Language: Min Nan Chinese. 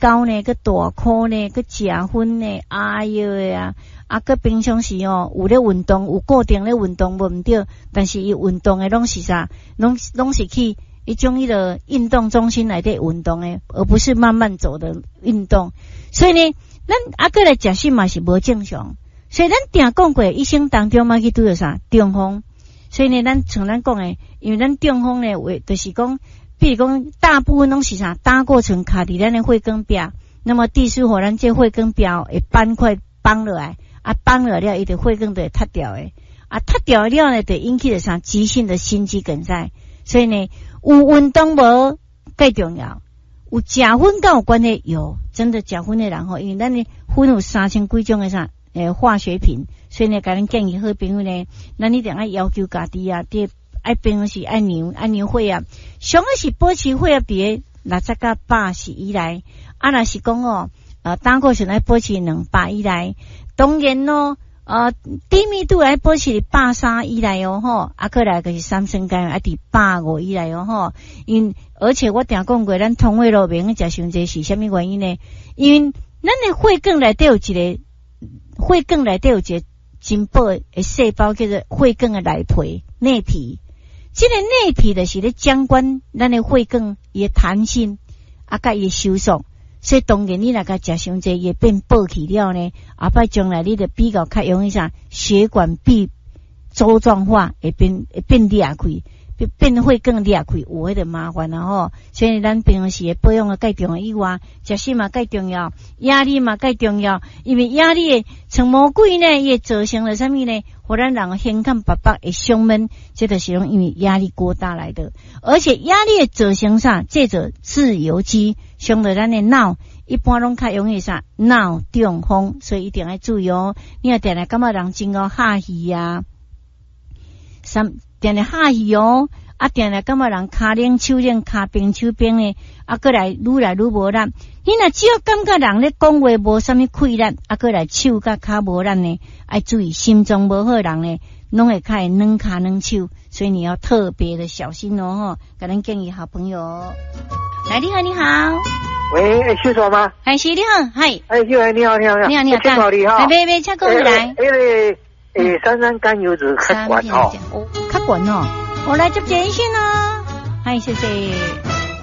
高呢，閣大箍呢，閣食薰呢，哎喲喂啊！啊，閣平常時哦，有咧運動，有固定咧運動無毋對，但是伊運動的攏是啥？攏是去彼種彼个運動中心內底運動的，而不是慢慢走的運動。所以呢，咱啊閣來食食嘛是無正常。所以咱定講過，一生當中嘛去拄著啥中風。所以呢，咱像咱講的，因為咱中風呢，話就是講，比如講大部分攏是啥膽固醇卡佇咱的血管壁，那麼地書予咱這血管壁會斑塊綁落來。啊，綁落了，伊就血管就會塌掉的。啊，塌掉了呢，就引起了啥急性的心肌梗塞。所以呢，有運動無蓋重要，有食薰敢有關係？有，真的食薰的人吼，因為咱的薰有三千幾種的啥化學品，所以呢，共恁建議好朋友呢，咱一定愛要求家己啊，佇愛平常時愛量愛量血壓，上好是保持血壓佇个60到80以內。啊，若是講哦，膽固醇愛保持200以內。當然咯，低密度愛保持佇130以內哦，吼，啊，閣來就是三酸甘油愛佇150以內哦，吼。因而且我定講過，咱通血路袂用食傷濟是啥物原因呢？因為咱的血管內底有一個血管內底有一個真薄的細胞，叫做血管的內皮內皮。這個內皮就是咧掌管咱的血管伊的彈性，啊，佮伊的收縮。所以當然你若共食傷濟，伊會變薄去了呢。後擺將來你就比較較容易啥血管壁粥狀化，會變裂開，變血管裂開，有彼個麻煩啊吼。所以咱平常時的保養啊，蓋重要以外，食食嘛蓋重要，壓力嘛蓋重要，因為壓力的像魔鬼呢，伊會造成了啥物呢？予咱人胸坎腹腹會胸悶，這就是攏因為壓力過大來的。而且壓力會造成啥？這做自由基，傷著咱的腦，一般攏較容易啥腦中風，所以一定愛注意哦。你若定定感覺人真𠢕哈氣啊，三定定哈氣哦，啊定定感覺人跤冷手冷，跤冰手冰的，啊閣來愈來愈無力。你若只要感覺人咧講話無啥物氣力，啊閣來手佮跤無力呢，愛注意心臟無好人呢，攏會較會軟跤軟手，所以你要特別的小心哦。吼，共恁建議好朋友。來，你好，你好。喂，欸，秀娟嗎？係是你好，係。哎，秀娟你好，你好，你好，你好，請好你哈。別別，請講來。那個，欸，三酸甘油酯較懸吼。較懸哦，我來接熱線哦。係，謝謝。